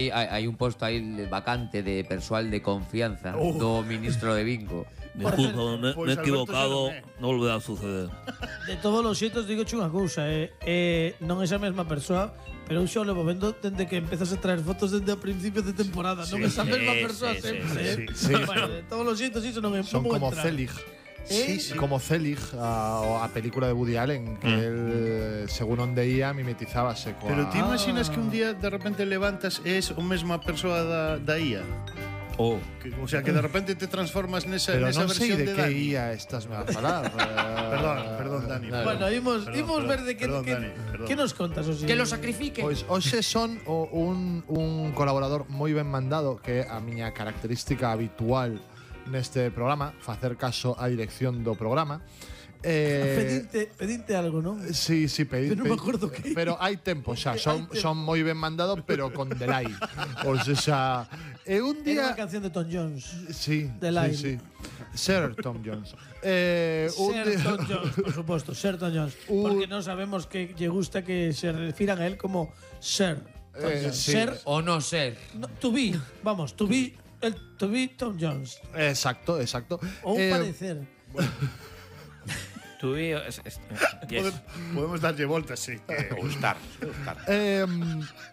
Hai un posto aí vacante de persoal de confianza do ministro de Bingo. Disculpa, me he equivocado, non volverá a suceder. De todos os xeitos, digo unha cousa, non é esa mesma persoa, pero eu xa o levo vendo dende que empezas a traer fotos dende o principio de temporada. Non é esa mesma persoa sempre, sí. Bueno, de todos os xeitos, iso non é. Son como Zelig. Sí. Como Zelig, a película de Woody Allen, que él, según onde ia, mimetizábase coa… Pero ti imaginas que un día de repente levantas e es o mesma persoa da IA? O sea, que de repente te transformas nesa Pero non sei versión de de que Dani. IA estás a falar. Perdón, Dani. Bueno, imos ver de que Dani, perdón. que nos contas, Osi. Que lo sacrifique. Pois hoxe son un colaborador moi ben mandado, que é a miña característica habitual neste programa, facer caso á dirección do programa. Pedinte algo, non? Sí, pedí. Pero non me acordo que. Pero hai tempo xa, son moi ben mandado, pero con delay. O sea, un Era día… unha canción de Tom Jones. Sí, Delay. sí. Sir Tom Jones. Tom Jones, por suposto, Sir Tom Jones. Porque non sabemos que lle gusta que se refiran a él como Sir Tom Jones. Sí. Sir O no ser. no, to be, vamos, to be Tom Jones. Exacto. O un parecer. Tú y… Podemos darlle voltas, sí. Ou estar.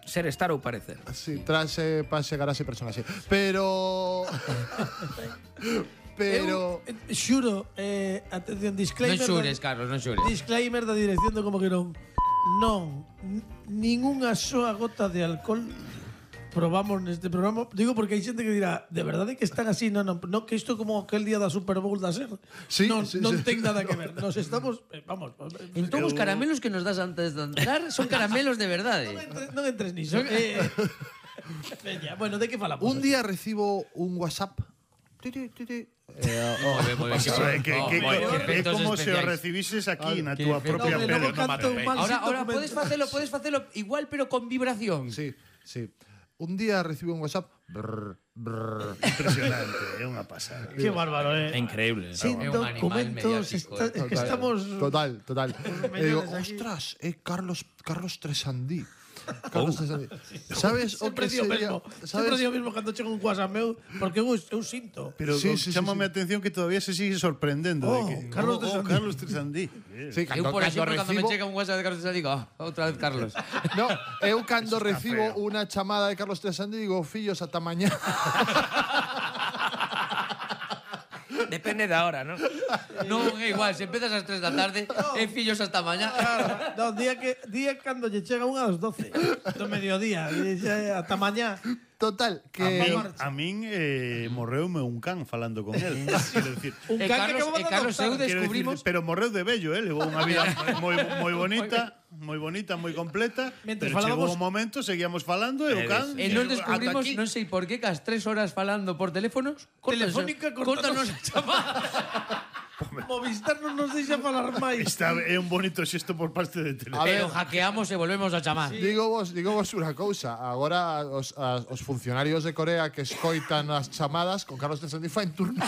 Ser, estar ou parecer. Sí, trase, pase, garase, personaxe. Pero… Eu, xuro, atención, disclaimer. Non xures, Carlos, non xures. Disclaimer da dirección do como que non. Ningunha soa gota de alcohol probamos neste programa. Digo porque hai xente que dirá, de verdade que están así, non, que isto como aquel día da Super Bowl da SER. Sí, non sí. ten nada que ver. Nos estamos, vamos. Entón os caramelos que nos das antes de entrar son caramelos de verdade. Non entres niso. Veña, bueno, de que falamos? Un día recibo un WhatsApp. Moi ben, É como se o recibises aquí na túa propia pele. Ahora podes facelo igual pero con vibración. Sí. Un día recibo un WhatsApp. Impresionante, é unha pasada. Qué bárbaro, É increíble. Sin É un animal documentos, mediático, es que estamos… Total. E digo, aquí. ostras, Carlos Tresandí. Sabes o que Sempre digo sería… mesmo. Sempre digo mesmo cando chega un WhatsApp meu, porque eu sinto. Pero chámame a atención que todavía se sigue sorprendendo de que Carlos Tresandí. Carlos Tresandí. Sí, Eu, por exemplo, cando me recibo… chega un WhatsApp de Carlos Tresandí, digo, outra vez Carlos. No, eu cando recibo unha chamada de Carlos Tresandí digo, fillos, ata mañá. Depende da hora, ¿no? Non é igual, se empezas ás 3 da tarde, é fillos hasta mañá. No, día cando lle chega unha ás 12 do mediodía, e xa ata mañá. Total, que… A min morreume un can falando con él. Quero decir, Un can que acabamos de Carlos, eu adoptar. quero descubrimos… decir, pero morreu de vello, levou unha vida moi bonita, moi completa. Mentre Pero chegou falábamos- un momento, seguíamos falando e o can… E nos ata descubrimos, aquí. non sei por qué, que as 3 horas falando por teléfonos, Telefónica, córtanos a chamada. Movistar non nos deixa falar máis. É un bonito xesto por parte de Tele. Pero hackeamos e volvemos a chamar. Digo vos unha cousa. Agora os funcionarios de Corea que escoitan as chamadas con Carlos Tresandí fa en turno.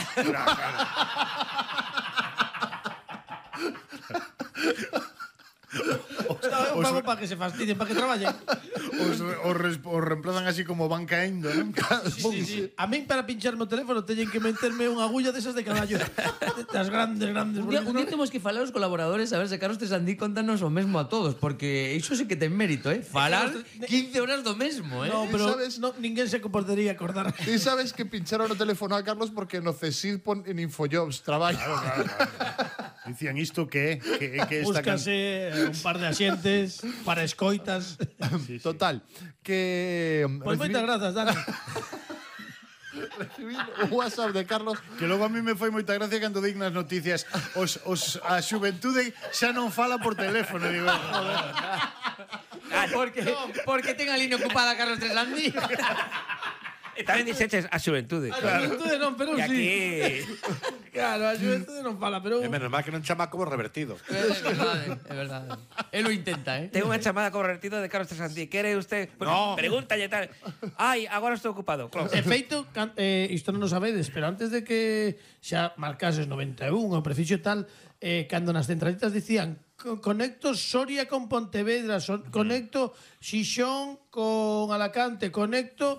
Eu pago para que se fastidien, para que traballen. Os reemplazan así como van caendo, non? Sí. A min para pincharme o teléfono teñen que meterme unha agulla desas de caballo. Das grandes. Un día temos que falar aos colaboradores a ver se Carlos Tresandí contanos o mesmo a todos, porque iso sí que ten mérito, Falar 15 horas do mesmo, No, pero ¿Sabes? ninguén se podería acordar. Ti sabes que pincharon o teléfono a Carlos porque no CSID pon en Infojobs traballo. Claro. Dicían isto que esta Búscase un par de asientes para escoitas. Total, que… Pois moitas grazas, Dani. recibí un WhatsApp de Carlos. Que logo a mí me foi moita gracia cando dignas noticias a xuventude xa non fala por teléfono, digo. Porque ten a línea ocupada Carlos Tresandí. E tamén dixeches a xuventude. A xuventude non, pero E sí. aquí… Claro, a xuventude non fala, pero… É menos mal que non chama como revertido. É verdade. Él lo intenta, Tengo unha chamada convertida de Carlos Tresandí. Quere usted? Pues, No. Pregúntalle tal. Ai, agora estou ocupado. Claro. De feito, isto non o sabedes, pero antes de que xa marcases 91 o prefixo tal, cando nas centralitas dicían conecto Soria con Pontevedra, conecto Xixón con Alacante, conecto